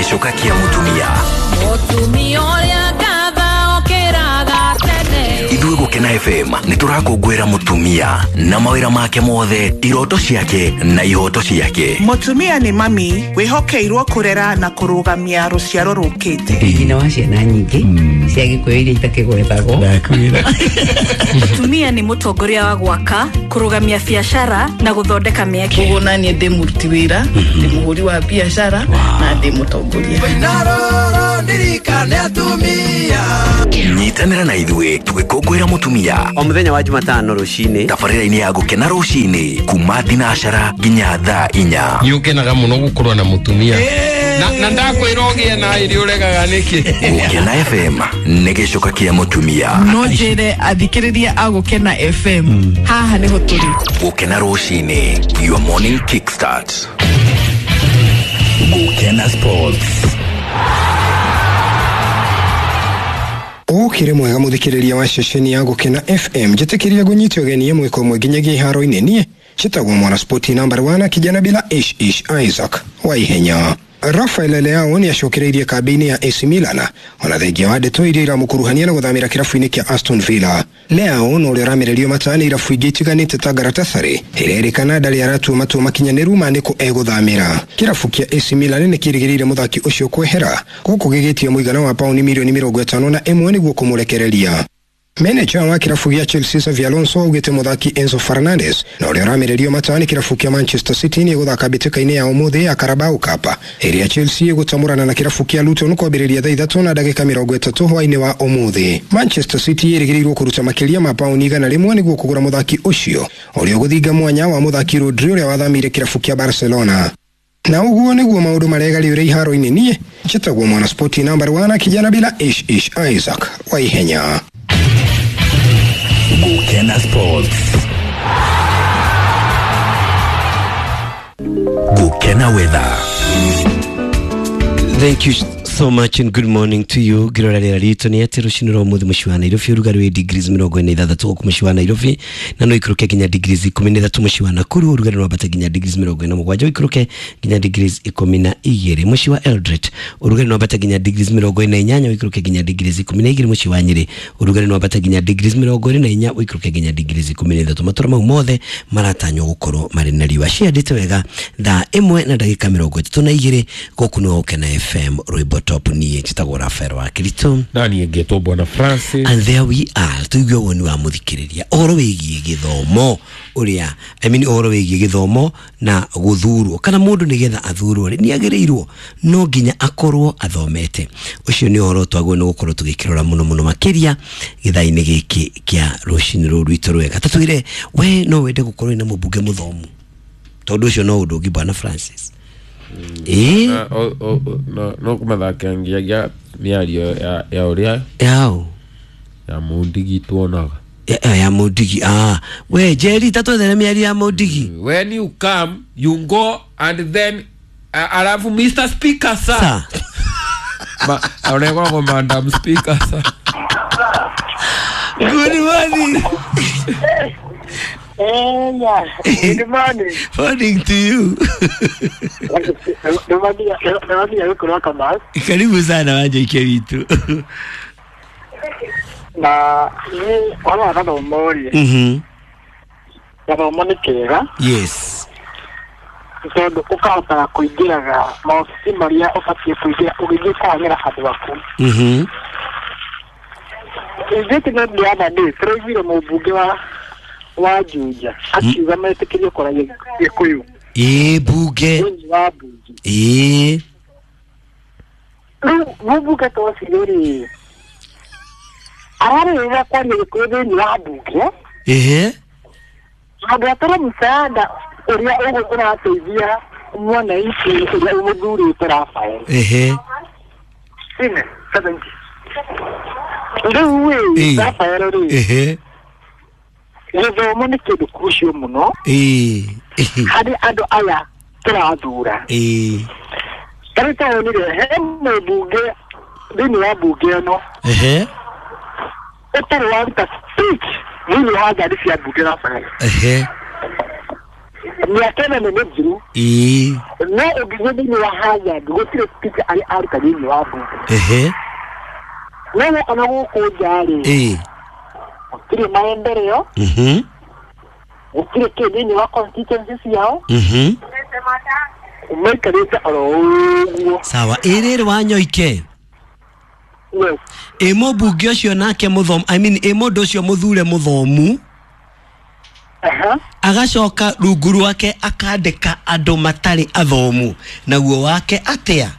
Gĩcoka kĩa mũtumia. Mũtumia ũrĩa ngatha okĩraga tene. Ithuĩ Gũkena FM nĩ tũrakũngũĩra mũtumia na mawĩra make mothe, iroto ciake na ihoto ciake. Mũtumia nĩ mami wĩhokeirwo kũrera na kũrũgamia rũciaro rũkĩte. Nyina wa ciana nyingĩ cia Gĩkũyũ iria itakĩgwetagwo. Mũtumia nĩ mũtongoria wa gwaka, kũrũgamia biacara na gũthondeka mĩeke. Koguo naniĩ ndĩ mũruti wĩra, ndĩ mũhũri wa biacara na ndĩ mũtongoria. Nyitanĩra na ithuĩ tũgĩkũngũĩra mũtumia o mũthenya wa Jumatano rũcinĩ tabarĩra-inĩ ya Gũkena rũcinĩ kuma thinacara nginya thaa 4. Nĩ ũkenaga mũno gũkorwo na mũtumia na ndakwĩra ũgĩe na ĩrĩ ũregaga nĩkĩ. Gũkena FM nĩ gĩcoka kĩa mũtumia. No njĩre athikĩrĩria a Gũkena FM haha nĩho tũrĩ. Gũkena rũcinĩ, your morning kickstart. Gũkena Sports. Ũkĩrĩ mwega mũthikĩrĩria wa ceceni ya Gũkena FM, njĩtĩkĩria ngũnyite ũgeni ĩmwe kwa ĩmwe nginyagia iharo-inĩ. Niĩ njĩtagwo mwana spoti number 1 kijana bila ish ish Isaac wa ihenya. Rafael Leao nĩ acokereirie kambĩ-inĩ ya AC Milan ona thengia wa ndeto iria iramũkuruhania na gũthamĩra kĩrabu-inĩ kĩa Aston Villa. Leao na ũrĩa ũramererio mata nĩ irabu ingĩ itiganĩte ta Galatasaray ĩrerĩkana ndarĩ aratua matua makinyanĩru ma nĩkũ egũthamĩra. Kĩrabu kĩa AC Milan nĩ kĩrĩgĩrĩire mũthaki ũcio kwehera gũkũ gĩgĩtia mũigana wa pauni milioni 51 nĩguo kũmũrekereria. Manager wa kĩrabu gĩa Chelsea Xavi Alonso augĩte mũthaki Enzo Fernandez na ũrĩa ũramererio mata nĩ kĩrabu kĩa Manchester City nĩ egũthaka mbĩtĩka-inĩ ya ũmũthĩ ya Carabao Cup ĩrĩa Chelsea ĩgũtamũrana na kĩrabu kĩa Luton kwambĩrĩria thaa 3:30 hwaĩ-inĩ wa ũmũthĩ. Manchester City ĩrĩgĩrĩirwo kũruta makĩria ma pauni 100 nĩguo kũgũra mũthaki ũcio ũrĩa ũgũthinga mwanya wa mũthaki Rodri ũrĩa wathamĩire kĩrabu kĩa Barcelona. Na ũguo nĩguo maũndũ maregarĩũre iharo-inĩ. Niĩ njĩtagwo mwana spoti number 1 kijana bila ish ish Isaac wa ihenya. Gũkena Sports. Gũkena Weather. Thank you so much and good morning to you. Ngirora rĩera ritũ nĩ atĩ rũcinĩ rwa ũmũthĩ mũciĩ wa Nairobi ũrugarĩ wĩ degrees 46 gũkũ mũciĩ wa Nairobi na no ikũrũke nginya degrees 13 mũciĩ wa Nakuru ũrugarĩ no wambate nginya degrees 47 ũikũrũke nginya degrees 12 mũciĩ wa Eldoret ũrugarĩ no wambate nginya degrees 48 ũikũrũke nginya degrees 12 mũciĩ wa Nyĩrĩ ũrugarĩ no wambate nginya degrees 24 ũikũrũke nginya degrees 13. Matũra mau mothe maratanywo gũkorwo marĩ na riũa. Ciandĩte wega thaa 1:32 gũkũ nĩ Gũkena FM rwĩmbo top. Niĩ njĩtagwo Rafael wa Kirito na niĩ ngetwo Bwana Francis, and there we are. Tuigue woni wa mũthikĩrĩria ũhoro wĩgiĩ gĩthomo ũrĩa I mean ũhoro wĩgiĩ gĩthomo na gũthurwo kana mũndũ nĩgetha athurwo rĩ nĩ agĩrĩirwo no nginya akorwo athomete. Ũcio nĩ ũhoro twagwo nĩ gũkorwo tũgĩkĩrora mũno mũno makĩria gĩthaa-inĩ gĩkĩ kĩa rũcinĩ rũrũ rwitũ rwega. Tatwĩre we no wende gũkorwo na mũmbunge mũthomu tondũ ũcio no ũndũ ũngĩ Bwana Francis. No kũmathakangia mĩario ya ũrĩa yao ya Mundigi tuonaga ya Mundigi. We Jerry tatwethere mĩario ya Mundigi. When you come you go and then alafu Mr Speaker sir. Ma aonekwa Madam Speaker sir. Good morning. Yeah. Good morning. Morning to you. Karibu sana Wanjoike witũ. Na ni wala gathomo rĩ. Gathomo nĩ kĩega. Yes. Tondũ ũkahotaga kũingĩraga maobici marĩa ũbatiĩ kũingĩra ũgĩthiĩ kũhang'ĩra andũ aku. Ithuĩ the other day tũraiguire mũmbunge wa Juja akiuga metĩkĩrio kũragia Gĩkũyũ. Ĩĩ bunge. Wa bunge. Ĩĩ. Rĩu mũmbunge ta ũcio rĩ ararĩrĩra kwaria Gĩkũyũ thĩinĩ wa bunge. Ĩhĩ. Andũ atara msaada ũrĩa ũrateithia mwananchi ũrĩa ũmũthurĩte Rafael. Ĩhĩ. Ine 70. Rĩu ĩ Rafael rĩ. Ĩhĩ. Gĩthomo nĩ kĩndũ crucial mũno harĩ andũ aya tũrathura. Tarĩu ta wonire he mũmbunge thĩinĩ wa bunge ĩno ũtarĩ waruta speech thĩinĩ wa ngari cia bunge Rafael. Mĩaka ĩno nĩ mĩthiru. Ĩĩ. No ũngĩthiĩ thĩinĩ wa Hathard gũtirĩ speech arĩ aruta thĩinĩ wa mbunge. Ehe. No woka na gũkũ nja rĩ, Ĩĩ. gũtirĩ maendeleo, gũtirĩ kĩ thĩinĩ wa constituency ciao, maikarĩte oro ũguo. Sawa, ĩ rĩrĩ Wanyoike. Yes. Ĩ mũmbunge ũcio nake mũthomu, I mean ĩ mũndũ ũcio mũthure mũthomu, agacoka rungu rwake akandĩka andũ matarĩ athomu, naguo wake atĩa?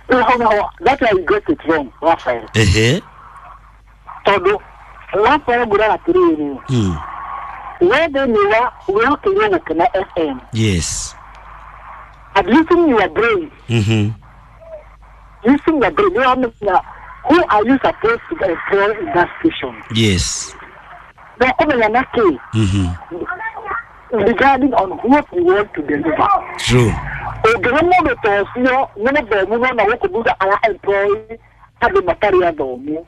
Rĩu hau naho that I got it wrong, Raphael. Ehe. Tondũ Raphael ngwĩraga atĩrĩrĩ, we thĩinĩ wa wĩhokeirwo Gũkena FM, Yes. and using your brain, using your brain, nĩũramenya who are you supposed to employ in that station. Yes. Na ũkũmenya na kĩ regarding on what you want to deliver. True. Ũngĩhe mũndũ ta ũcio nĩ mũthomu no na gũkũ thutha ara employ andũ matarĩ athomu,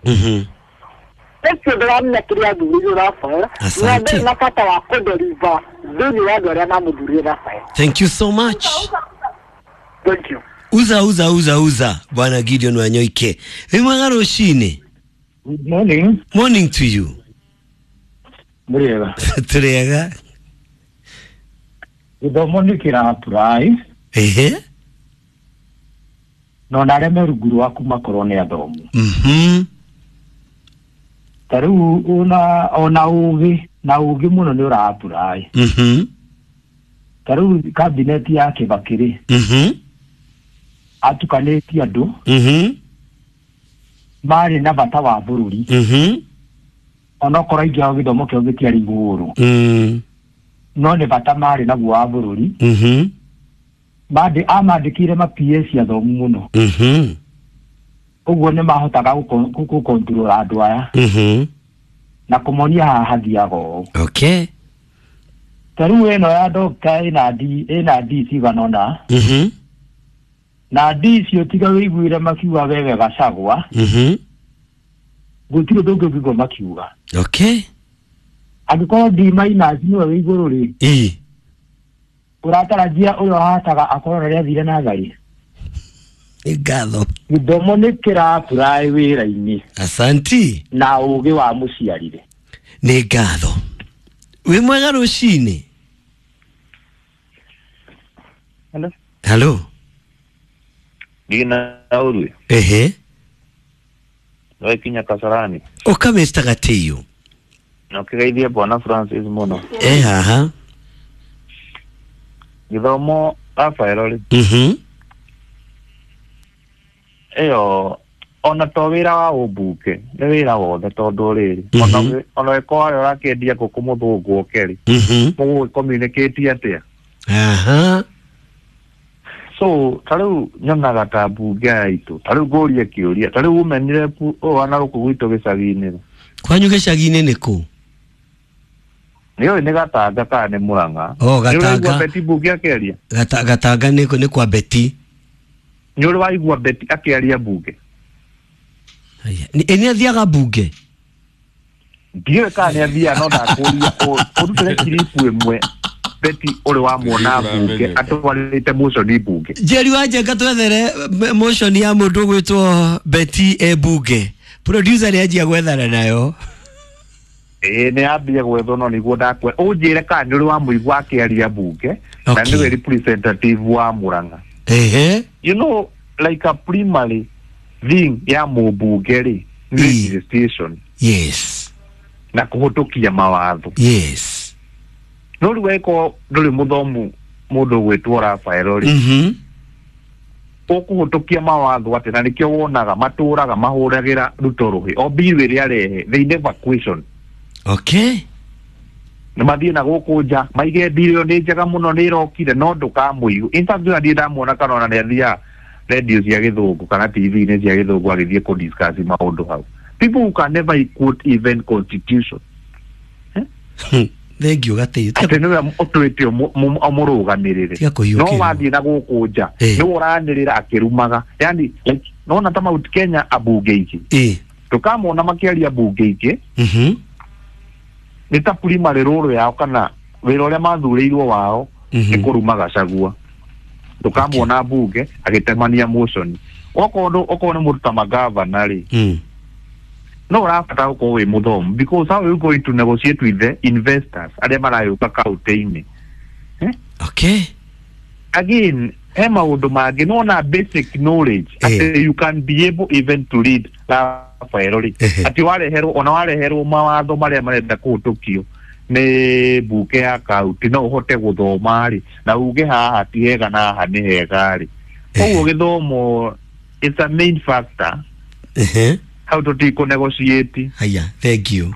ũcio ndĩramenya kĩrĩa athurĩirwo Raphael, na Asante. ndarĩ na bata wa kũdeliver thĩinĩ wa andũ arĩa mamũthurire Raphael. Thank you so much. Thank you. Uza uza uza uza Bwana Gideon Wanyoike. Wĩ mwega rũcinĩ. Good morning. Morning to you. Mũrĩega. Tũrĩega. Gĩthomo nĩ kĩra-apply. Ehe. Na ona arĩa me rungu rwaku makorwo nĩ athomu. Ta rĩu ona ũgĩ na ũgĩ mũno nĩ ũra-apply. Ta rĩu kabineti ya Kibaki rĩ, atukanĩtie andũ marĩ na bata wa bũrũri, onokorwo aingĩ ao gĩthomo kĩao gĩtiarĩ igũrũ, no nĩ bata marĩ naguo wa bũrũri. Amandĩkire ma PS athomu mũno, ũguo nĩ mahotaga gũkontrol andũ aya na kũmonia haha hathiaga ũũ. Okay. Ta rĩu ĩno ya doctor ĩna D, ĩna D cigana ũna, na D icio tiga wĩiguire makiuga wewe Gachagua, gũtirĩ ũndũ ũngĩ ũngĩigua makiuga. Okay. Angĩkorwo D minus nĩwe wĩ igũrũ rĩ, Ĩĩ. ũratarajia ũrĩa ũhataga akorwo na rĩathire natharĩ. Nĩ ngatho. Gĩthomo nĩ kĩra-apply wĩra-inĩ. Asanti. Na ũgĩ wa mũciarire. Nĩ ngatho. Wĩ mwega rũcinĩ. Hello. Hello. Gina Urui. Ehe. Nĩwakinya Kasarani. Ũka Mr. Gatiyo. Na ũkĩgeithie Bwana Francis mũno. Eh haha. Gĩthomo Raphael rĩ, ĩyo ona to wĩra wa ũmbunge nĩ wĩra wothe tondũ rĩrĩ, ona ĩkorwo harĩa ũrakĩendia ngũkũ mũthũngũ oke rĩ, mũgũgĩ-communicate atĩa? Aha. So ta rĩu nyonaga ta mbunge yaitũ, ta rĩu ngũrie kĩũria, ta rĩu women rep ũyũ ana gũkũ gwitũ gĩcagi-inĩ rĩ, Kwanyu gĩcagi-inĩ nĩ kũ? Nĩũĩ nĩ Gatanga kana nĩ Mũrang'a? Oh, Nĩ Gatanga. ũraigua Betty mbunge akĩaria? Gatanga nĩ kwa Betty. Nĩ ũrĩ waigua Betty akĩaria mbunge? Ĩ nĩ athiaga mbunge? Ndiũĩ kana nĩ athiaga, no ndakũria ũrutĩre kiribu ĩmwe Betty ũrĩ wamuona mbunge atwarĩte motion mbunge. Njeri wa Njenga twethere motion ya mũndũ ũgwĩtwo Betty e mbunge. Producer nĩ anjia gwethana nayo. Ĩĩ nĩ ambia gwethwo no nĩguo ndakwe ũnjĩre kana nĩ ũrĩ wamũigua akĩaria mbunge, na nĩwe representative wa Mũrang'a. Ehe. You know, like a primary thing ya mũmbunge rĩ nĩ legislation. Yes. Na kũhĩtũkia mawatho. Yes. No rĩu angĩkorwo ndũrĩ mũthomu mũndũ ũgwĩtwo Raphael rĩ, ũkũhĩtũkia mawatho atĩ, na nĩkĩo wonaga matũraga mahũragĩra Ruto rũhĩ o bill ĩrĩa arehe, they never question. Okay. Nĩ mathiĩ na gũkũ nja maige bill ĩyo nĩ njega mũno nĩ ĩrokire, no ndũkamũigue. In fact ona ndirĩ ndamuona kana ona nĩ athiaga radio cia gĩthũngũ kana TV-inĩ cia gĩthũngũ agĩthiĩ kũ discuss maũndũ hau. People who can never quote even constitution. Thank you Gatiyo. Atĩ nĩwe ũtuĩte ũmũrũgamĩrĩre. No wathiĩ na gũkũ nja nĩwe ũranĩrĩra akĩrumaga. Yani like nona ta Mount Kenya ambunge aingĩ. Ndũkamona makĩaria mbunge ingĩ. Nĩ ta primary role yao kana Wĩra ũrĩa mathurĩirwo wao nĩ kũruma Gachagua. Ndũkamuona mbunge agĩtemania motion. Okorwo nĩ mũndũ ta magavana rĩ, no ũrabatara gũkorwo wĩ mũthomu, because how are you going to negotiate with the investors arĩa marayũka kaunti-inĩ? Okay. Again, he maũndũ mangĩ nona basic knowledge atĩ you can be able even to read Rafael rĩ, atĩ wareherwo ona wareherwo mawatho marĩa marenda kũhĩtũkio nĩ mbunge ya kaunti no ũhote gũthoma rĩ na uge haha ti hega na haha nĩ hega rĩ. Koguo gĩthomo is a main factor. How to negotiate. Haya, thank you.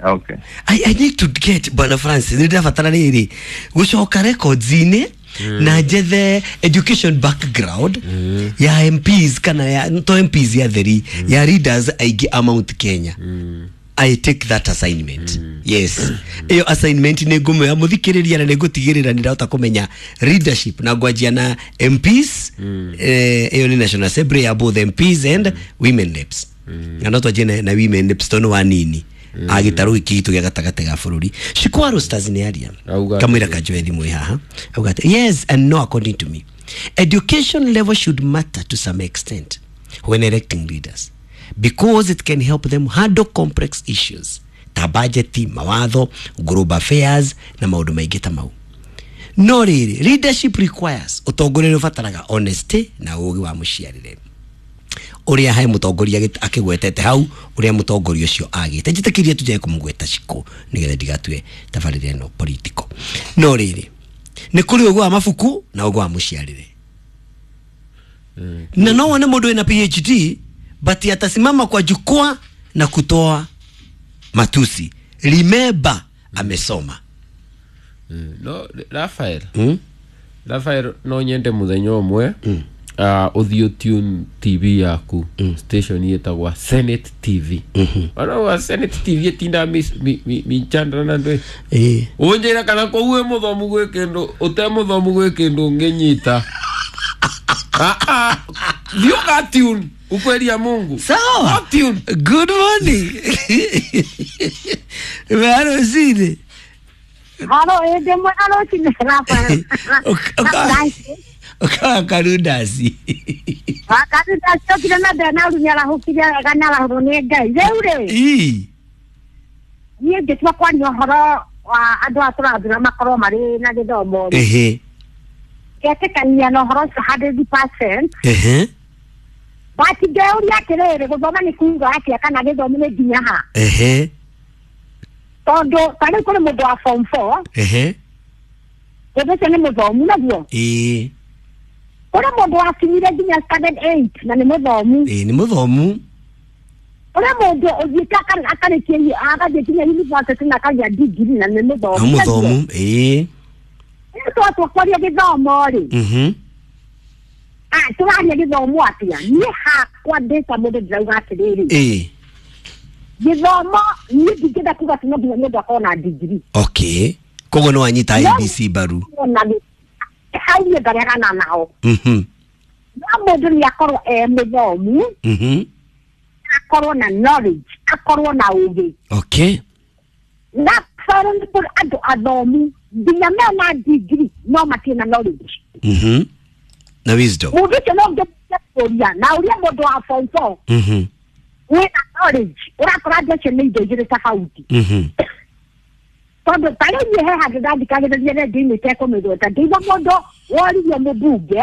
Okay. I need to get Bwana Francis, nĩndĩrabatara rĩrĩ gũcoka records-inĩ na njethe education background ya MPs kana ya to MPs ya theri ya leaders aingĩ a Mount Kenya. I take that assignment. Yes. Iyo assignment nĩ ngũmĩoya mũthikĩrĩria na nĩ ngũtigĩrĩra nĩ ndahota kũmenya leadership na ngwanjia na MPs, iyo nĩ National Assembly ya both MPs and women reps. Na no twanjie na women reps tondũ wa nini agĩtarũ gĩkĩ gitũ gĩa gatagatĩ ga bũrũri. Shikwaro Stars nĩ aria kamwĩra kanjoe thimũ haha auga atĩ, yes and no according to me, education level should matter to some extent when electing leaders because it can help them handle complex issues ta budget, mawatho, global affairs na maũndũ maingĩ ta mau. No rĩrĩ, leadership requires ũtongoria nĩ ũbataraga honesty na ũũgĩ wa mũciarĩre ũrĩa he mũtongoria akĩgwetete hau ũrĩa mũtongoria ũcio agĩte. Njĩtĩkĩrie tũnjae kũmũgweta Shiko nĩgetha ndigatue tabarĩra ĩno political. No rĩrĩ, nĩ kũrĩ ũgĩ wa mabuku na ũgĩ wa mũciarĩre. Na no wone mũndũ wĩna PhD but atasimama kwa jukwaa na kutoa matusi. Remember, amesoma. No, Rafael. Rafael no nyende muthenya ũmwe ũthiĩ tune TV yaku station yetagwa Senate TV. Ona wa Senate TV ĩtinda michandra na ndwe. Ũnjĩra kana kũu wĩ mũthomu gwĩ kĩndũ ũte mũthomu gwĩ kĩndũ ũngĩnyita. Thiĩ ũga tune ukweli ya Mungu. Sawa. Good morning. Halo Zine. Halo, ende halo Zine Rafael. Oka karudasi. Karudasi tokire na ndana runyara hukire gana la huru ni Ngai. Rĩu rĩ. Niĩ ngĩtua kwaria ũhoro wa andũ a tũrathura makorwo marĩ na gĩthomo. Ngetĩkania na ũhoro ũcio 100%. But ngeuria atĩrĩrĩ, gũthoma nĩ kuuga atĩa kana gĩthomo nĩ nginya ha? Tondũ ta rĩu kũrĩ mũndũ wa form 4. Mũndũ ũcio nĩ mũthomu naguo. Kũrĩ mũndũ wakinyire nginya standard 8 na nĩ mũthomu. Nĩ mũthomu. Kũrĩ mũndũ ũthiĩte akarĩkia agathiĩ nginya university na akagĩa degree na nĩ mũthomu. Nĩ mũthomu. Rĩu twatua kwaria gĩthomo rĩ, tũraria gĩthomo atĩa? Niĩ hakwa ndĩ ta mũndũ ndĩrauga atĩrĩrĩ, gĩthomo niĩ ndingĩenda kuga atĩ no nginya mũndũ akorwo na degree. Okay. Koguo nĩ wanyita IEBC mbaru. Hau niĩ ngaregana nao. No mũndũ nĩ akorwo e mũthomu, akorwo na knowledge, akorwo na ũgĩ. Okay. Na nĩ kũrĩ andũ athomu nginya mena degree no matirĩ na knowledge. Na wisdom. Mũndũ ũcio no ngĩkũria na ũria mũndũ wa form 4 wĩna knowledge ũrakora andũ acio nĩ indo igĩrĩ tofauti. Tondũ ta rĩu niĩ he handũ ndathikagĩrĩria redio-inĩ itekũmĩgweta, ngĩigua mũndũ woririe mũmbunge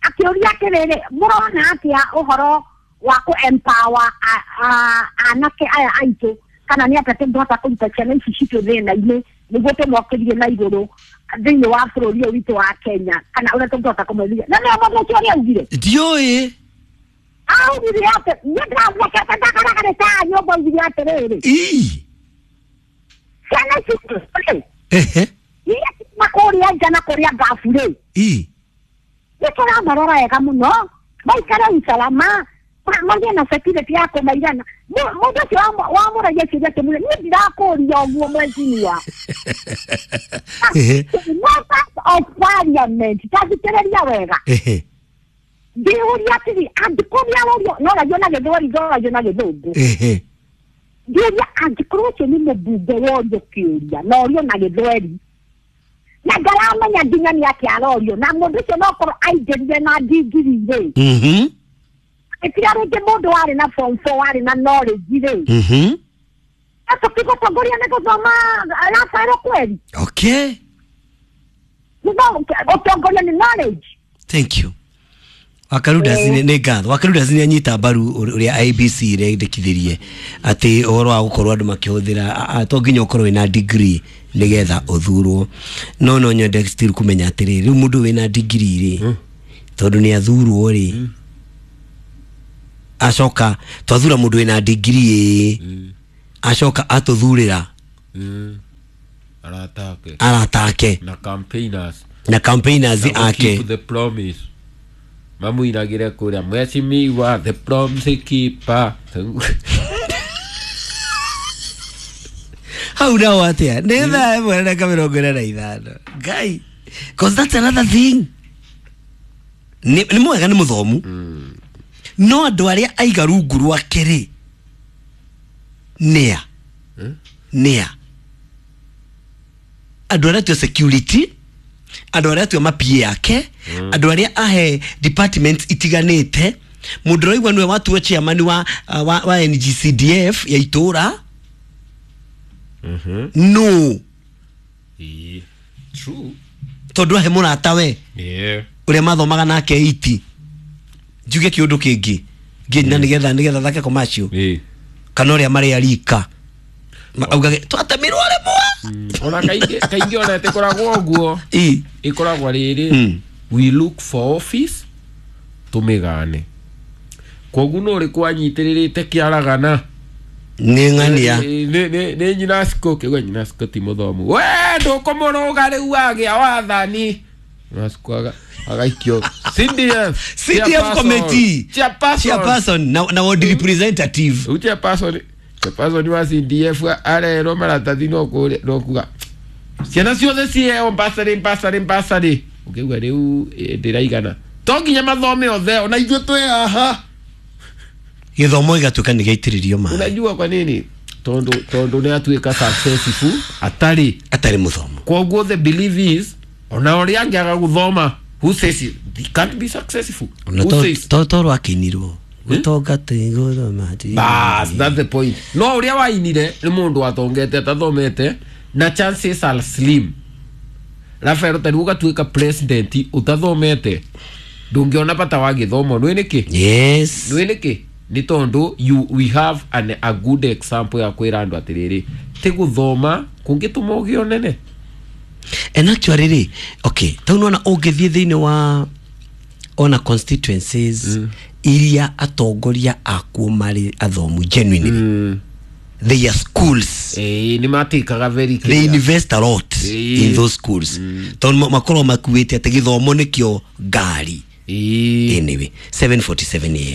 akĩũria atĩrĩrĩ, mũrona atĩa ũhoro wa kũ empower anake aya aitũ kana nĩ atĩa tũngĩhota kũruta ciana ici citũ thĩna-inĩ nĩguo tũmokĩrie na igũrũ thĩinĩ wa bũrũri ũyũ witũ wa Kenya, kana ũrĩa tũngĩhota kũmethia. Na nĩo mũndũ ũcio ũrĩa augire? Ndiũĩ. Augire atĩ niĩ ndĩrathekete ndakaragarĩte haha nyũmba, augire atĩrĩrĩ, ciana ici rĩ, iria ciuma kũrĩa nja na kũrĩa ngabu rĩ, nĩ tũramarora wega mũno maikare usalama magĩe na security ya kũmaigana. Mũndũ ũcio wamũragia kĩũria kĩmwe, niĩ ndirakũria ũguo mheshimiwa. Members of parliament, ta thikĩrĩria wega. Ndĩũria atĩrĩ, angĩkorwo nĩarorio, no ragio na Gĩthweri, ndoragio na Gĩthũngũ. Ngĩũria angĩkorwo ũcio nĩ mũmbunge worio kĩũria na orio na gĩthweri na ngaramenya nginya nĩ atĩa arorio, na mũndũ ũcio no korwo aingĩrire na ndigiri rĩ, ĩtiga rĩngĩ mũndũ warĩ na form 4 warĩ na knowledge rĩ, tũkĩgũtongoria nĩ gũthoma Rafael kweri. Okay. Ũtongoria nĩ knowledge. Thank you. Wakaruda nĩ ngatho. Wakaruda nĩ anyita mbaru ũrĩa IBC irendekithirie atĩ ũhoro wa gũkorwo andũ makĩhũthĩra to nginya ũkorwo wĩna degree nĩgetha ũthurwo. No nyende still kũmenya atĩrĩrĩ, rĩu mũndũ wĩna degree rĩ, tondũ nĩ athurwo rĩ, acoka twathura mũndũ wĩna degree acoka atũthurĩra aratake na campaigners, na campaigners ake. Keep the promise. Mamuinagire kuria mheshimiwa the promise keeper. Hau nao atia nĩ thaa ĩmwe na ndagĩka 45 Ngai, cause that's another thing. Nĩ mwega, nĩ mũthomu, no andũ arĩa aiga rungu rwake rĩ nĩa nĩa andũ arĩa tua security, andũ arĩa tua mapie yake, andũ arĩa ahe departments itiganĩte. Mũndũ ũraigua nĩwe watua chairman wa NGCDF ya itũra. No. True. Tondũ ahe mũrata we ũrĩa mathomaga nake iti njuge kĩũndũ kĩngĩ nginya nĩgetha thake commercial kana ũrĩa marĩ arika augage twatemirwo rĩmwe. Ona kaingĩ ona ĩtĩkoragwo ũguo, ĩkoragwo rĩrĩ, we look for office tũmĩgane. Kwoguo no ũrĩkũ anyitĩrĩrĩte kĩaragana nĩ ng'ania nĩ nyina Siko kĩgwa nyina Siko ti mũthomu we ndũkũmũrũga rĩu wagĩa wathani. Nyina agaikio CDF CDF committee chairperson na ward representative. Rĩu chairperson wa CDF arerwo maratathi no kuga ciana ciothe ciheo bursary ũkĩigua rĩu ndĩraigana to nginya mathome othe ona ithuĩ twĩ haha. Gĩthomo gĩgatuĩka nĩ gĩaitĩrĩrio maĩ. Unajua kwa nini? Tondũ nĩ atuĩka successful atarĩ mũthomu. Kwoguo the belief is ona ũrĩa angĩaga gũthoma, who says he can't be successful? Who says? Toro akinirwo gũtonga ti gũthoma ti. Bas, that's the point. No ũrĩa wainire nĩ mũndũ watongete atathomete na chances are slim. Rafael tari ũgatuĩka president ũtathomete ndũngĩona bata wa gĩthomo. Nĩ nĩkĩ? Yes. Nĩ nĩkĩ? Nĩ tondũ we have a good example ya kwĩra andũ atĩrĩrĩ ti gũthoma kũngĩtũma ũgĩe ũnene. And actually rĩ, okay, tau nĩwona ũngĩthiĩ thĩinĩ wa ona constituencies iria atongoria akuo marĩ athomu genuinely, they are schools. Nĩ matĩkaga very clear. They invest a lot in those schools. Tondũ makorwo makuĩte atĩ gĩthomo nĩkĩo ngari. Anyway, 7:47 a.m.